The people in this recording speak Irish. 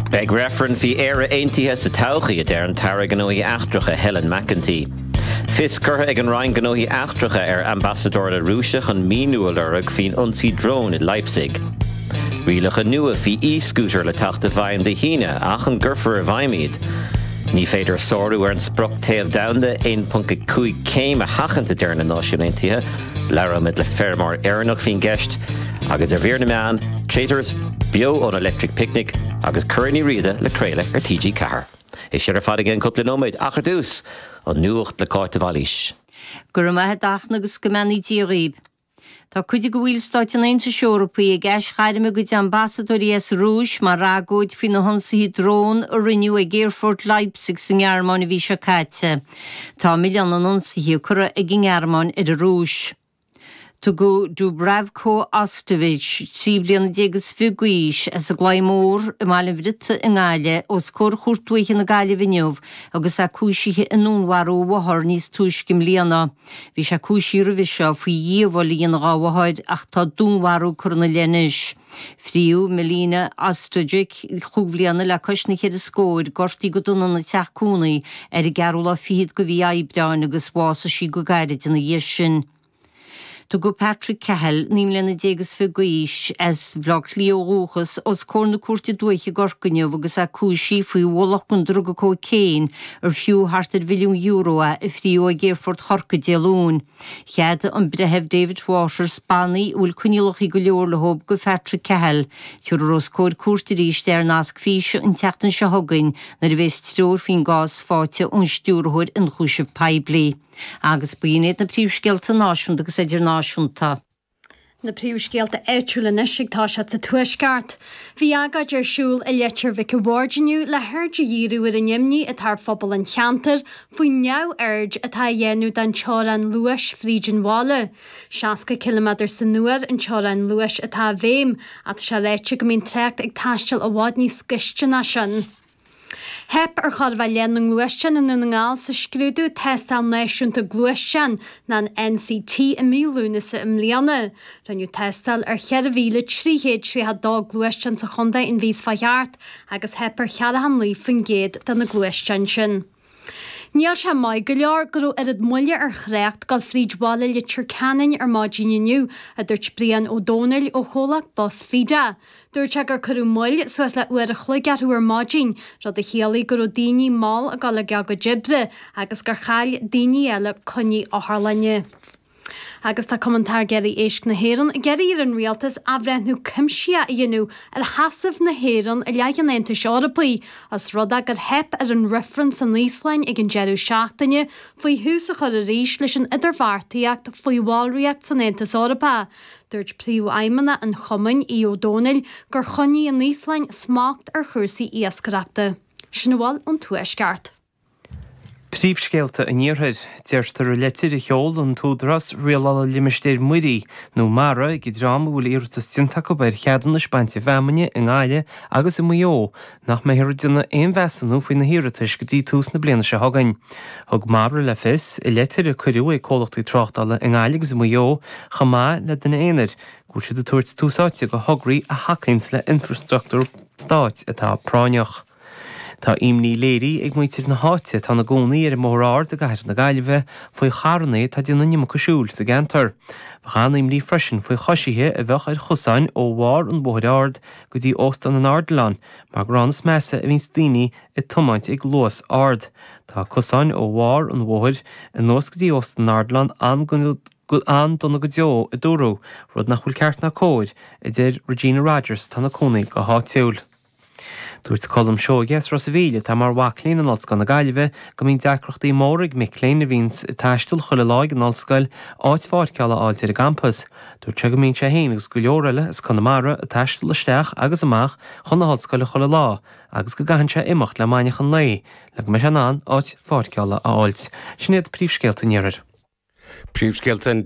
Beidh reifreann faoi Éire Aontaithe sa todhchaí, a deir an tAire Gnóthaí Eachtracha Helen McEntee. Fios curtha ag an Roinn Gnóthaí Eachtracha ar Ambasadóir na Rúise chun míniú a lorg faoin ionsaí drón i Leipzig. Rialacha nua faoi e-scooter le teacht i bhfeidhm Dé hAoine ach an gcuirfear i bhfeidhm iad? Ní féidir sárú ar an sprioc téamh domhanda 1.5 céim a sheachaint, a deir na Náisiúin Aontaithe. Labhróimid le feirmeoir Éireannach faoin gceist agus ar mhír na meán, Traitors, beo ón Electric Picnic agus Curaidh Ní Riada le craoladh ar TG4. É sin ar fad i gceann cúpla nóiméad ach ar dtús, an nuacht le Cáit de Bhailís. Go raibh maith a't a Fhachtna agus go mbeannaí Dia dhaoib. Tá cuid de bhaill Stáit an Aontais Eorpaigh ag aisghairm a gcuid ambasadóirí as an Rúis mar agóid faoi na hionsaithe drón a rinneadh ag aerfort Leipzig sa nGearmáin an mhí seo caite. Tá milleán na n-ionsaithe curtha ag an nGearmáin ar an Rúis. Tugadh Dubravko Ostojic, 13 bliana is fiche d'aois, as an gClaí Mór i mBaile an Bhriotaigh i nGaillimh, os comhair Chúirt Dúiche na Gaillimhe inniu agus é cúisithe i ndúnmharú a mháthar níos túisce i mbliana. Bhí sé cúisithe roimhe seo faoi dhíobháil a dhéanamh dhá mháthair ach tá dúnmharú curtha ina leith anois. Fríodh Milena Ostojic, chúig bhliana le cois na cheithre scóir, gortaithe go dona ina teach cónaí ar an gceathrú lá fichead de mhí Aibreáin agus bhásaigh sí go gairid ina dhiaidh sin. Tugadh Patrick Cahill, 19 mbliana is fiche d'aois, as Baile Átha Cliath ó dhúchas, os comhair na Cúirte Dúiche i gCorcaigh inniu agus é cúisithe faoi ualach den druga cócaon ar fiú thart ar mhilliún euro é a fríodh ag Aerfort Chorcaí Dé Luain. Cheadaigh an Breitheamh David Waters bannaí a bhfuil coinníollacha go leor leo do Phatrick Cahill. Tabharfar os comhair cúirte arís é ar nasc físe an tseachtain seo chugainn nuair a bheas treoir faoin gcás faighte ón Stiúrthóir Ionchúiseamh Poiblí. Agus b'in iad na príomhscéalta náisiúnta agus idirnáisiúnta. Na príomhscéalta áitiúla anois ag toiseacht sa Tuaisceart. Bhí agóid ar siúl i Leitir Mhic a' Bhaird inniu le haird a dhíriú ar an imní atá ar phobal an cheantair faoin neamhaird atá á dhéanamh den teorainn luais fríd an bhaile. 60 ciliméadar san uair an teorainn luais atá i bhfeidhm ach tá sé ráite go mbíonn trácht ag taisteal i bhfad níos gaiste ná sin. Theip ar chóir a bheith leath na ngluaisteán i nDún na nGall sa scrúdú Tástáil Náisiúnta Gluaisteán, nó an NCT, i mí Lúnasa i mbliana. Rinneadh tástáil ar 4,332 gluaisteán sa chontae an mhí seo chuaigh thart agus theip ar 49% de na gluaisteáin sin. Níl sé maith go leor go raibh oiread moille ar thrácht dul fríd bhaile Leitir Ceanainn ar maidin inniu, a dúirt Brian Ó Domhnaill ó chomhlacht bus Fida. Dúirt sé gur cuireadh moill suas le uair a chloig orthu ar maidin, rud a chiallaigh go raibh daoine mall ag dul ag a gcuid oibre agus gur chaill daoine eile coinní otharlainne. Agus tá Cumann Táirgeoirí Éisc na hÉireann ag iarraidh ar an Rialtas athbhreithniú cuimsitheach a dhéanamh ar sheasamh na hÉireann i leith an Aontais Eorpaigh, os rud é gur theip ar an reifreann san Íoslainn ag an deireadh seachtaine faoi thús a chur arís leis an idirbheartaíocht faoi bhallraíocht san Aontas Eorpach. Dúirt Príomhfheidhmeannach an Chumainn, Aodh Ó Domhnaill, gur choinnigh an Íoslainn smacht ar chúrsaí iascaireachta. Sin a bhfuil ón Tuaisceart. Príomhscéalta an Iarthair. Deirtear i leitir a sheol an tÚdarás Rialála Limistéir Muirí, nó mara, ag an dream a bhfuil iarratas déanta acu ar cheadúnais bainte feamainne i nGaillimh agus i Maigh Eo nach mbeifear ag déanamh aon mheasúnú faoi na hiarratais go dtí tús na bliana seo chugainn. Thug Mara le fios, i leitir a cuireadh ag comhlachtaí tráchtála i nGaillimh agus i Maigh Eo, chomh maith le duine aonair, go bhfuil siad ag tabhairt tús áite do thograí a thacaíonns le infreastruchtúr stáit atá práinneach. Tá imní léirithe ag muintir na háite atá ina gcónaí ar an mBóthar Ard i gcathair na Gaillimhe faoi charranna atá ag déanamh an iomarca siúil sa gceantar. Bheadh an-imní freisin faoi choisithe a bheadh ar chosáin ó bharr an Bhóthair Ard go dtí Óstán an Ardilaun mar gur ann is measa a bhíonns daoine ag tiomáint ag luas ard. Tá cosáin ó bharr an bhóthair anuas go dtí Óstán an Ardilaun an-dona go deo, a dúradh, rud nach bhfuil ceart ná cóir, a deir Regina Rogers atá ina cónaí go háitiúil. Dúirt Colm Seoige as Ros a' Mhíl, atá mar mhac léinn in Ollscoil na Gaillimhe, go mbíonn deacrachtaí móra ag mic léinn a bhíonns ag taisteal chuile lá ag an ollscoil áit pháirceála a fháilt ar an gcampas. Dúirt sé go mbíonn sé féin agus go leor eile as Conamara ag taisteal isteach agus amach chun na hollscoile chuile lá agus go gcaitheann sé imeacht le maidneachan lae le go mbeidh sé in ann áit pháirceála a fháilt. Sin iad príomhscéalta an Iarthair. Príomhscéalta an.